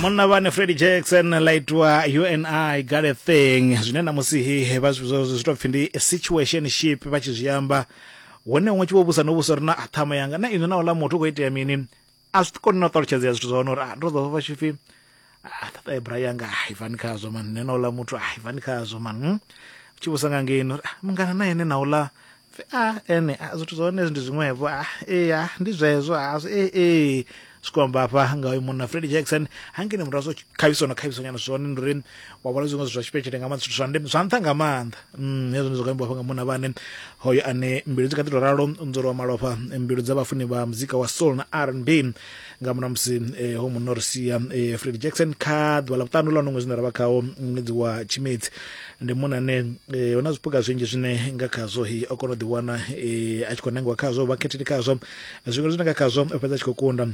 Munna vhane Freddie Jackson ḽa itwa You and I Got a Thing, zwine namusi hi vha zwi to pfhi ndi situationship vha tshi zwi amba, hone huṅwe tshi vho vhusa no vhusa uri na ṱhama yanga na inwi na uḽa muthu u khou itea mini, a zwi koni na u ṱalutshedzea zwithu zwa hone uri a ndo ḓo vha tshi pfhi a ṱaṱa bra yanga a ibvani khazwo man, nṋe na uḽa muthu a ibvani khazwo man, Tshi vhusa nga ngeini uri mungana na ene na uḽa a ene a zwithu zwa hone ndi zwiṅwevho a ee a ndi zwezwo a zwi ee ee zwi khou amba hafha nga uyu munna Freddie Jackson. Hangeni murahu zwo khavhiso na khavhiso nyana zwone ndi uri wa vhona zwiṅwe zwithu zwa tshipetshele nga maanḓa, zwithu zwa ndeme zwa nṱha nga maanḓa. Hezwo ndi zwo ambiwa hafha nga munna vhane hoyo ane mbilu dzi kha ḓi tou ralo nzolo wa malofha, mbilu dza vhafuni vha muzika wa soul na R&B nga murahu musi ho munna o ri sia, Freddie Jackson, kha ḓuvha ḽa vhuṱanu ḽa uno ṅwedzi une ra vha khawo, ṅwedzi wa Tshimedzi. Ndi munna ane hu na zwipuka zwinzhi zwine nga khazwo hi o kona u ḓiwana a tshi khou nangiwa khazwo, vha khetheli khazwo zwiṅwe zwine nga khazwo o fhedza a tshi khou kunda.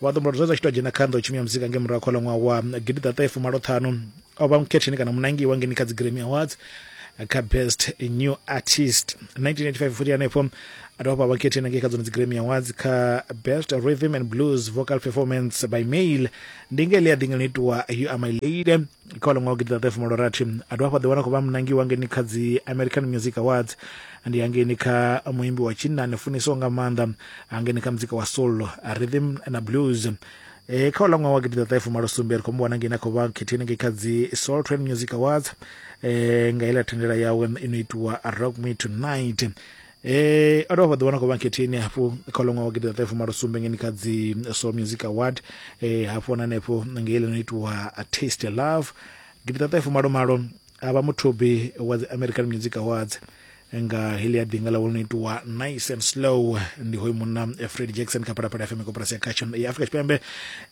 Vha ḓo zwezwo a tshi to dzhena kha nḓowetshumo ya muzika nge murahu kha ṅwaha wa 1985 o vha mukhetheni kana munangiwa ngeni kha dzi Grammy Awards kha Best New Artist. 1985 futhi hanefho a dovha vha khetheni ngei kha dzone dzi Grammy Awards kha Best Rhythm and Blues Vocal Performance by Male, ndi nge ḽi a ḓinga itiwa You Are My Lady kha ḽa ṅwaha wa 1986. A dovha hafhu a ḓiwana khou vha munangiwa ngeni kha dzi American Music Awards, ndi hangeini kha muimbi wa tshinnani funiswaho nga maanḓa hangeini kha muzika wa soul, rhythm na blues. Kha uḽa ṅwaha wa 1987 ri khou mu wana ngei na khou vha khetheni ngei kha dzi Soul Train Music Awards nga iḽa thendela yawe ino itiwa Rock Me Tonight. O dovha ḓi wana khou vha khetheni hafhu kha uḽa ṅwaha wa 1987 ngeni kha dzi Soul Music Award, hafhu na hanefho ngei ḽi no itiwa Taste Love. 1988 a vha muthubi wa dzi American Music Awards nga heḽi ya ḓinga ḽawe no itiwa Nice and Slow. Ndi hoyu munna Freddie Jackson kha Phalaphala FM, koporasi ya khatsho ya Afrika Tshipembe.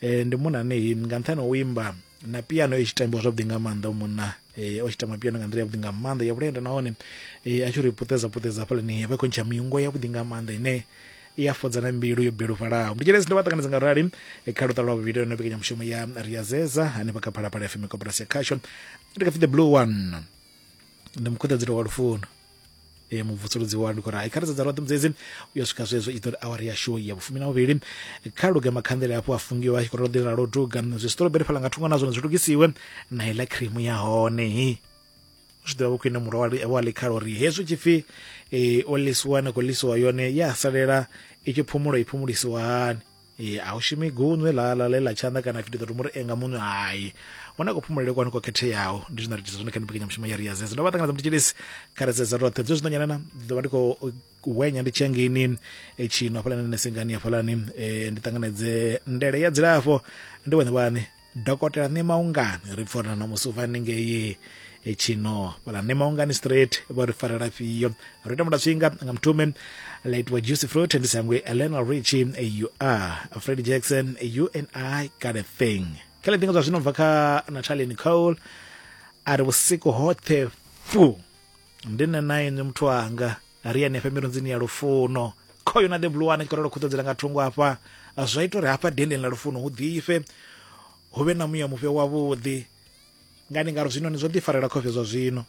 Ndi munna ane nga nṱhani ha u imba na piano i tshi tambiwa zwavhuḓi nga maanḓa, munna o tshi tamba piano nga nḓila yavhuḓi nga maanḓa ya vhulenda, nahone a tshi ri puṱedza puṱedza hafhaḽani vha khou ntsha miungo yavhuḓi nga maanḓa ine i a fhodza na mbilu yo bilufhalaho. Ndi tshelesi ndo vha ṱanganedza nga rali kha luṱa lwa vhuvhili lwa mbekanyamushumo ya Riazeza hanefha kha Phalaphala FM, koporasi ya khasho. Ndi kha The Blue One, ndi mukhuḓadzelo wa lufuno, mubvusuludzi wa ndi khou ri kha ri sedza roṱhe mudzedzi u ya swika zwezwo i ḓo ri awara yashu ya vhufumi na vhuvhili. Kha luge makhanḓele hafhu a fungiwa a tshi khou ro ḓi ralo duga zwi strawberry fhaḽa nga thungo na zwone zwi lugisiwe na iḽa cream ya hone. Zwi ḓivha vho khwine murwa wa ḽikhala uri hezwi tshipfi o ḽisiwa na khou ḽisiwa yone ya salela i tshi phumula i phumulisiwa hani. A hu shumi gunwe ḽa ḽa ḽe ḽa tshanḓa kana pfi ndi ḓo to muri enga munwe, hai huna kuphumulele kwanu ko khetheaho. Ndi zwine ra itisa zwone kha mbekanyamushumo ya Riazeza. Ndo vha ṱanganedza mutshilisi kha ri sedza roṱhe zwe zwino nyanana ndi ḓo vha ndi khou wenya ndi tshiya ngeini tshino hafhaḽani nesengani hafhaḽani, ndi ṱanganedze ndele ya dzilafho ndi vhone vhaṋe Dokotela Ṋemaungani. Ri pfa uri na ṋamusi u bva haningei tshino fhala Ṋemaungani straight vho ri farela fhio. Ro ita mutaswinga nga muthume ḽa itiwa Juicy Fruit, ndi sangwe Lionel Richie You Are, Freddie Jackson You and I Got a Thing. Kha ḽi ḓinga zwa zwino bva kha Natalie Nicole a ri vhusiku hoṱhe fu ndi nṋe na inwi muthu wanga ri hanefha mirunzini ya lufuno. Khoyo na The Blue One tshi khou ralo khuṱedzela nga thungo hafha, zwa ita uri hafha dendeni ḽa lufuno hu ḓifhe, hu vhe na muya mufhe wavhuḓi. Ngani ngauri zwinoni zwo ḓifarela khofhe zwa zwino,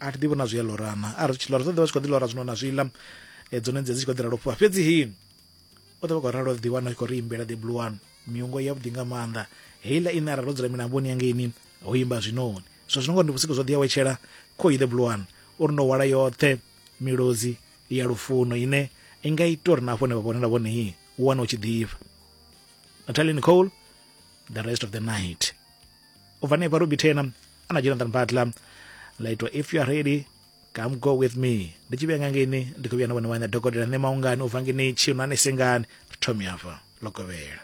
a thi ḓivhi na zwi a lorana, a ri tshi lora zwo ḓivha zwi khou ḓi lora zwino na zwiḽa, dzone dzi tshi khou ḓi ralo fhufha. Fhedzi hi u ḓo vha khou ralo ḓi wana tshi khou ri imbela The Blue One miungo yavhuḓi nga maanḓa, heiḽa ine arali ro dzula milamboni ya ngeini ho imba zwinoni. Zwa zwino ngori ndi vhusiku zwo ḓi awetshela, khoyu The Blue One uri ndo hwala yoṱhe milozi ya lufuno ine i nga ita uri na hafho hune vha vhonela vhone hi u wane u tshi ḓifha. Natalie Nicole, The Rest of the Night. U bva hanefha Ruby Turner ana Jonathan Butler ḽa itwa If You Are Ready Come Go With Me. Ndi tshi vhuya nga ngeini ndi khou vhuya na vhone vhaṋe dokotela Ṋemaungani u bva ngeini Tshinwane Sengani. Ri thome hafha ḽo kovhela.